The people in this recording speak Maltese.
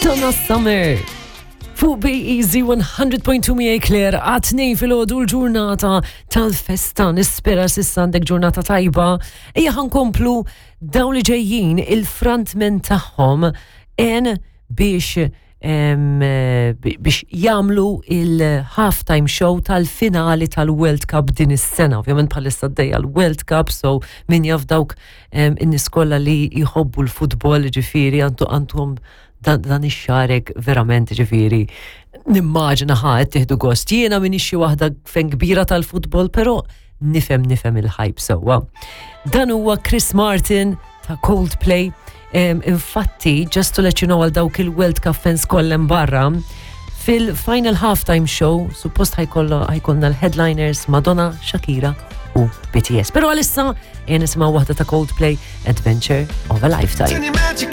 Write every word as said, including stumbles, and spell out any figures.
Donna Summer. Fuq B-Easy one hundred point two miegħi Claire, għat-tnejn filgħodu, l-ġurnata tal-festa. Nispera s'issa għandek ġurnata tajba. Ejja ħa nkomplu. Dawn li ġejjin, il-frontman tagħhom en biex em, biex jagħmlu il-halftime show tal-finali tal-World Cup din is-sena. Ovvjament bħalissa għaddejja l-World Cup, so min jaf dawk em, in-nies kollha li jħobbu l-futbol, ġifieri għandu għandhom dan, dan ix-xarek verament, ġifieri nimmaġina ħa qed tieħdu gost. Jiena m'iniex xi waħda fan kbira tal-futbol, però nifhem nifhem il-hype sewwa. Dan huwa Chris Martin ta' Coldplay. Um, infatti, just to let you know, għal dawk il-World Cup fans kollha barra, fil-final halftime show, suppost ħa jkollna l-headliners Madonna, Shakira u B T S. Però għalissa, ejja nisimgħu waħda ta' Coldplay, Adventure of a Lifetime. Turn your magic